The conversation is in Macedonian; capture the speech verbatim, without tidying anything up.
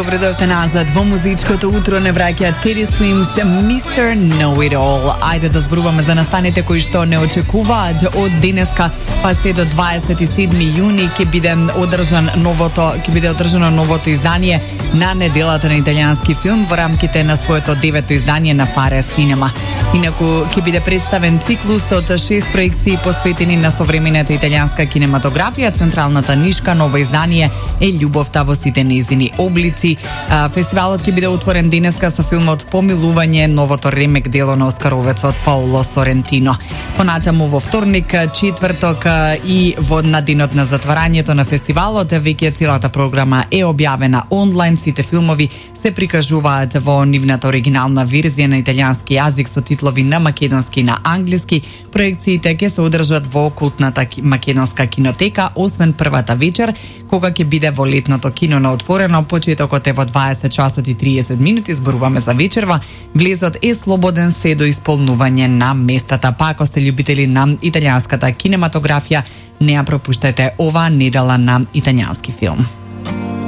Добре дојдовте назад во музичкото утро, не враќа Teddy Swims, мистер Know It All. Ајде да зборуваме за настаните кои што не очекуваат од денеска па се до дваесет и седми јуни ќе биде одржан новото ќе биде одржано новото издание на неделата на италијански филм во рамките на своето девето издание на Fare Cinema. Инаку ќе биде представен циклус од шест проекции посветени на современата италијанска кинематографија. Централната нишка ново издание е љубовта во сите нејзини облици. Фестивалот ќе биде отворен денеска со филмот Помилување, новото ремек дело на оскаровецот Паоло Сорентино. Понатаму во вторник, четврток и во на денот на затварањето на фестивалот веќе целата програма е објавена онлайн. Сите филмови се прикажуваат во нивната оригинална верзија на италијански јазик со титлови на македонски и на англиски. Проекциите ќе се одржат во култната македонска кинотека, освен првата вечер, кога ќе биде во летното кино на отворено. Почетокот е во дваесет часот и триесет минути, зборуваме за вечерва. Влезот е слободен се до исполнување на местата. Па ако сте љубители на италијанската кинематографија, не ја пропуштајте оваа недела на италијански филм.